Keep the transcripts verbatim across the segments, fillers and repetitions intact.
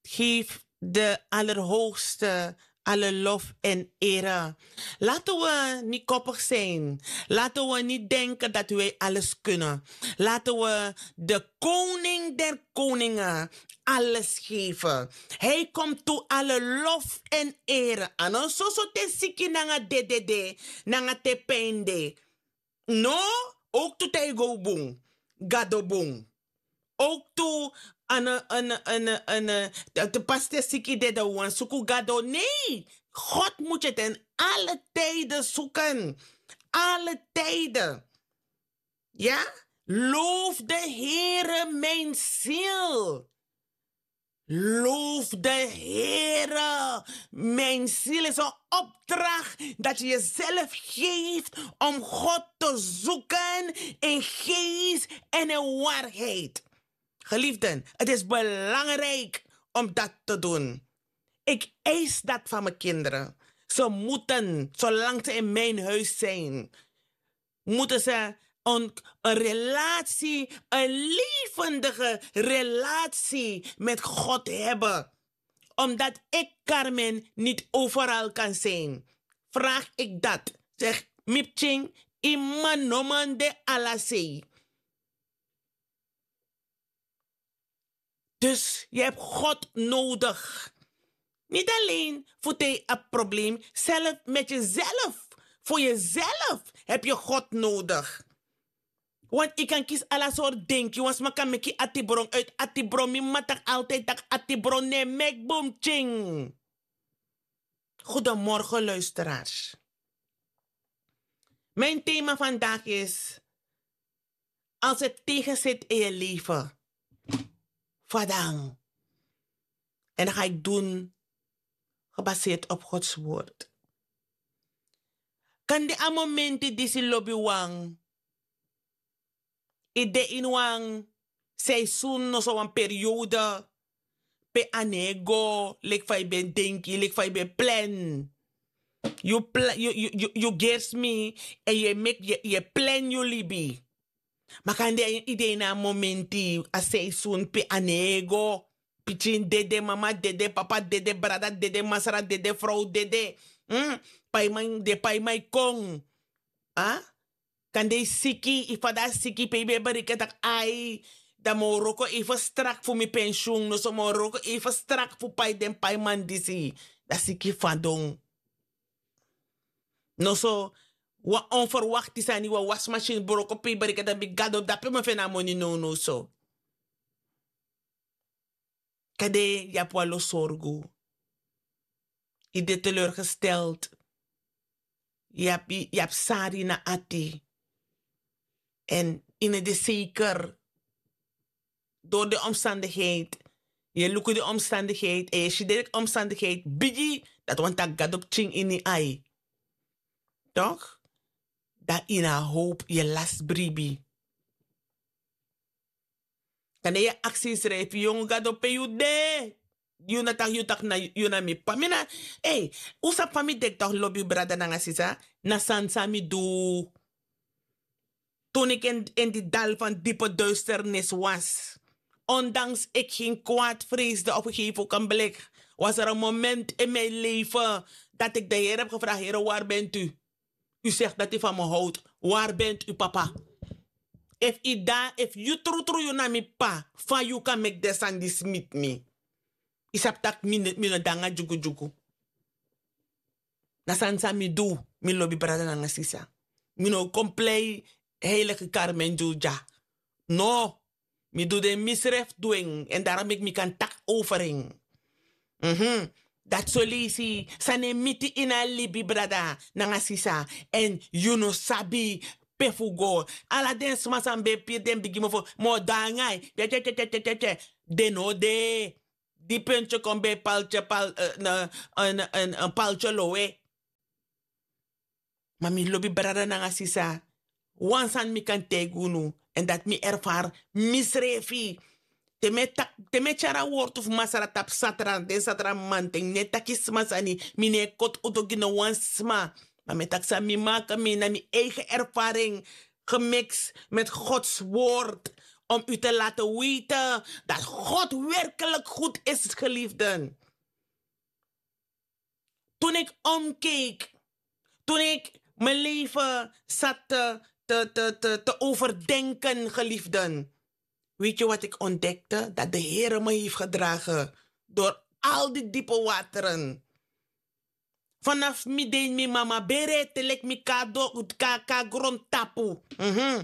Geef de Allerhoogste alle lof en ere. Laten we niet koppig zijn. Laten we niet denken dat wij alles kunnen. Laten we de koning der koningen alles geven. Hij komt toe alle lof en ere. A no soso te siki nanga dedede, nanga te pijn de. No, ook tu te go bun, Gado bun. Ook tu an, an, an, an, te, te pas te siki dede wan suku Gado. Nee, God moet je ten alle tijden zoeken. Alle tijden. Ja? Loof de Heere, mijn ziel. Loof de Heere. Mijn ziel is een opdracht dat je jezelf geeft om God te zoeken in geest en in waarheid. Geliefden, het is belangrijk om dat te doen. Ik eis dat van mijn kinderen. Ze moeten, zolang ze in mijn huis zijn, moeten ze een, een relatie, een levendige relatie met God hebben. Omdat ik, Carmen, niet overal kan zijn, vraag ik dat. Zeg, Mipching, iman noman de alasei. Dus je hebt God nodig. Niet alleen voor tegen een probleem, zelf met jezelf. Voor jezelf heb je God nodig. Want je kan kiezen alle soort dingen. Want sma kan meki atibron uit atibron. Mi matak altijd tak atibron ne mek boom ching. Goedemorgen luisteraars. Mijn thema vandaag is: als het tegenzit in je leven, fadang. En dat ga ik doen gebaseerd op Gods woord. Kan di a momenti disi lobi wang. Ide in wang seizoen, no so wan periode. Pe a no e go leki fa yu ben denki, leki fa yu ben plan. Yu plan, yu, yu, yu, yu gersi mi, en yu e meki, yu e, yu e plan yu libi. Ma kande yu de ini a momenti, a seizoen pe a no e go. Pikin dede, mama dede, papa dede, brada dede, masra dede, frow dede. Paiman de, paiman e kon. Kande yu siki, yu fada siki, pe yu ben e bereken tak' ai, dan mi o wroko even strak fu mi pensioen, noso mi o wroko even strak fu pai den paiman disi. Dan siki fadon. Noso wan onverwakti sani, wan wasmasin broko, pe yu bereken tak' mi Gado, dape mi o feni a moni nownow so. Kande yu abi wan lo sorgu. Yu de teleurgesteld. Yu abi, yu abi sari na ati. En yu no de zeker. Door de omstandigheid. Yu e luku de omstandigheid en yu e si de omstandigheid bigi, dati wani tak' Gado pikin ini ai. Toch? Dan yu na hoop, yu e lasi bribi. Kande yu e aksi yusrefi, yongu Gado, pe yu de? Yu na taki, yu taki na, yu na mi p'pa. Mi na, ei, un sabi fa mi denki toch, lobi brada nanga sisa, na sani san mi du. Toen ik in, in die dal van diepe duisternis was, ondanks ik geen kwaad vreesde op een gegeven ogenblik, was er een moment in mijn leven dat ik de Heer heb gevraagd: Heer, waar bent u? U zegt dat u van me houdt. Waar bent u, papa? Efu yu de, efu yu trutru yu na mi p'pa, fa yu kan meki den sani disi miti mi? Yu sabi tak' mi no, mi no de nanga dyugudyugu. Na sani san mi du, mi lobi brada nanga sisa. Mi no kon plei heilige Carmen dyu dya. No. Mi du den misrefi du en, en daarom meki mi kan taki over en. Mhm. Dati so leisi san e miti ini a libi, brada nanga sisa. En yu no sabi pe fu go. Ala den sma san ben piri den bigi mofo, mi o de nanga yu. Tye, tye, tye. Den no de. Di puntye kon ben paltye, pal, eh, na, en, en, en paltye lowe. Ma mi lobi brada nanga sisa, wan sani mi kan taigi unu, en dati mi erfari misrefi. Te mi e taki, te mi e tyari a wortu fu Masra tapu Satra, den Satra mamanten, mi no e taki sma sani, mi no e koti udu gi no wan sma. Ma mi e taki san mi maka, mi na mi eigen ervaring, gemiks met Gods woord, om u te laten weten dat God werkelijk goed is, geliefden. Toen ik omkeek, toen ik mijn leven zat te, te, te, te, te overdenken, geliefden, weet je wat ik ontdekte? Dat de Heer me heeft gedragen door al die diepe wateren. Vanaf mi den mi mama bere te leki mi kado ka, ka grondtapu. Mhm.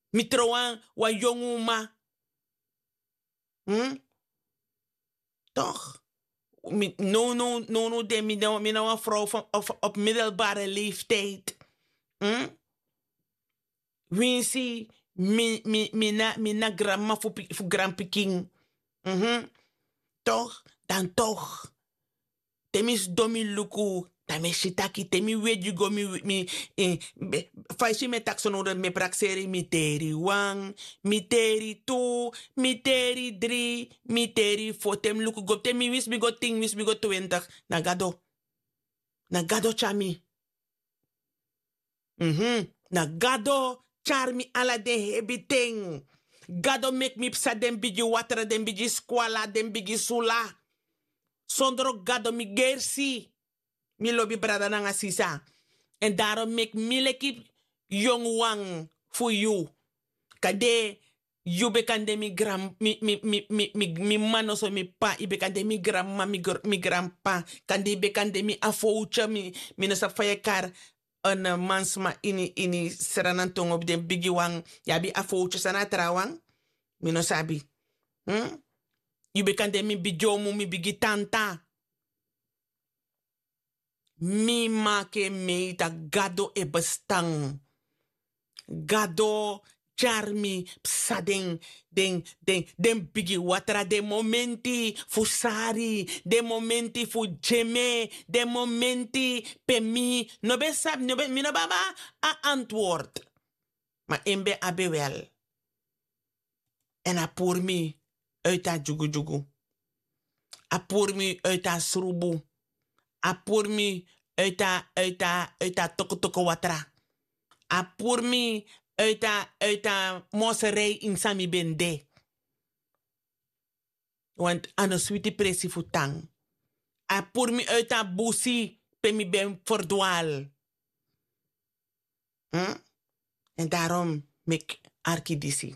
Mi trouwan wan yongu ma. Hmm? Toch? Mi no no no no den mi na wan vrouw van op middelbare leeftijd. Hmm? Winsi mi na granmama fu granpikin. Toch? Dan toch. Te mi sidon mi luku, dan mi e si taki te mi wedi go mi fa yu si mi e taki so no den mi e prakseri mi teri wan, mi teri tu, mi teri dri, mi teri fo te mi luku go te mi wisi mi go tin wisi mi go twintig. Na gado. Na gado tyari mi. Na gado tyari mi ala den hebi ten. Gado meki mi psa den bigi watra den bigi skwala den bigi sula. Sondro gado mi gersi. Mi lobi brada nanga sisa. Èn daro meki mi leki yongu wan fu yu. Kande yu ben kan de mi gran mi mi mi mi mi mi mama noso mi p'pa yu ben kan de mi granmama mi granp'pa. Kande yu ben kan de mi afowtye mi no sabi fa yu e kari. Mansma ini ini sranantongo den bigi wan. Yu abi afowtye san na a trawan? Mi no sabi. Yu ben kan de mi bigi omu mi bigi tanta. Mi maki en mei tak' gado e bestan. Gado tyari mi psa den den den bigi watra den momenti fu sari den momenti fu dyeme den momenti pe mi no ben sabi mi no ben abi a antword. Ma en ben abi wel. Èn a puru mi uiti a dyugudyugu. A puru mi uiti a srubu. A puru mi uiti a uiti a uiti a tokotoko watra. A puru mi uiti a uiti a moserei ini san mi ben de. Want a no switi presi fu tan. A puru mi uiti a busi pe mi ben ferdwal. Èn darom meki arki disi.